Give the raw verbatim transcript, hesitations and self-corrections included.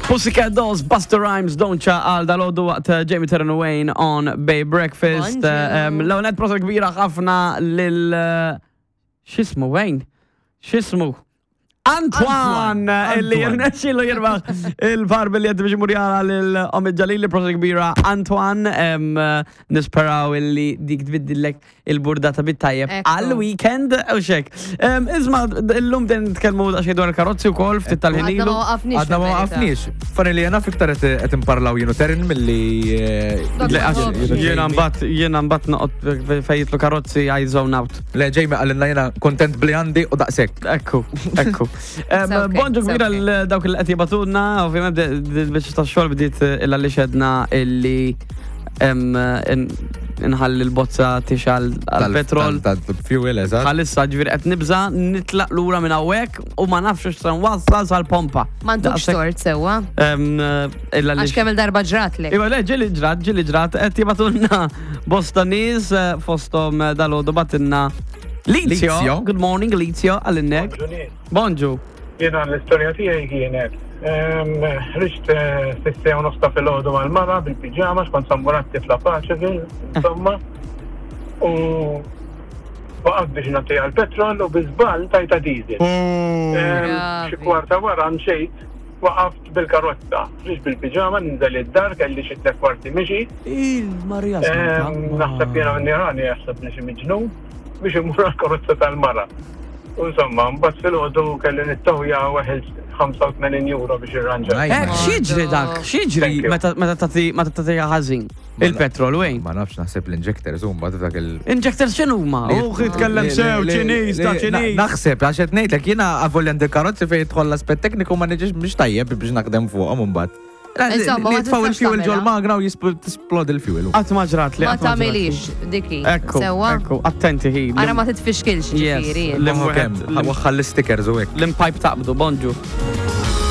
Pussycat Dolls, Busta Rhymes, Don't Cha għal dalgħodu waqt uh, Jamie Terran Wayne on Bay Breakfast. Bonġu. L-għonet prosa kbira ħafna lil... uh, X'ismu, Wayne? X'ismu? Antoine, illi jirnexxilu jirbaħ il-par biljet biex imur jara lil Omid Jalili, prosa kbira Antoine, em, uh, nisperaw illi dik tbiddillek il-burdata bit-tajjeb Ekku. għal-weekend u xek. Em, Isma, illum din nitkellmu daqsxejn dwar il-karozzi wkoll ftit tal-ħin Għadna ilu. ma waqafniex. Għadna ma fil-verità. waqafniex. Funny li jena fiktar qed imparlaw jienu Terin milli. eh, Dak Le, għax ma nħobbx. Jiena mbagħad jiena mbagħad noqgħod fejtlu karozzi I zone out. Le, Jamie għallinna jena kontent bli għandi u daqsek. Ekku, ekku. Em, okay, Bonġu it's kbira okay. l dawk li qed jibatulna, ovvjament biex tax-xogħol bdiet illa li xedna illi em, in- inħalli l-bozza tixal għal-petrol. Tal-fuel, eżatt. Bħalissa ġifieri qed nibża nitlaq lura minn hawnhekk u ma nafx x'se nwassal sal-pompa. M'għandux Daqshekk, tort sewwa. em, Illa li Għax kemm il-darba ġratlek. Iva, le, ġili ġrat, ġili ġrat, qed jibatulna bosta nies eh, fostom eh, dalgħodu batinna Lizio. Lizio. Good morning, Lizio, għal-innek. Bonġu. Jena l-istorja tiegħi kienet. ehm, Ħriġt fis-siegħa u nofs ta' filgħodu mal-mara bil-piġama x'kont samburatti fla Paceville, insomma. U waqaf biex nagħtiha l-petrol u bi żball tajta diesel. Ehm, Bravi. Xi kwarta wara mxejt waqaft bil-karozza. Ħriġt bil-piġama ninżel id-dar kelli xi tliet kwarti mixi. Il-Marija Ehm, Naħseb jiena minn irani jaħseb li xi miġnun biex imur għall-karozza tal-mara. U Insomma, mbagħad filgħodu kelli nittawja weħel ħamsa u tmenin euro biex irranġa. Nice. Eh, x'jiġri dak? X'jiġri Thank you. meta meta tagħti meta tagħtiha ħażin? Il-petrol, wejn. Ma nafx, naħseb l-injectors huma dak il- Injectors x'inhuma? U jitkellem sew Ċiniż ta' Ċiniż. Naħseb, għax qed ngħidlek jiena avolja għandi karozzi fejn jidħol l-aspett tekniku ma niġix mhux tajjeb biex naħdem fuqhom imbagħad. Insomma, ma Li jitfaw tistax il-fuel tagħmilha. ġol magna u jisplod il-fuel. Qatt ma ġrat li Ma qatt ma ġrat li. tagħmilix diki. Ekku, Sewwa. ekku, attenti hi. Ara ma titfixkilx Yes. ġifieri. L-imwieħed- Kemm, waħħal l-stickers u hekk. L-impajp taqbdu, bonġu.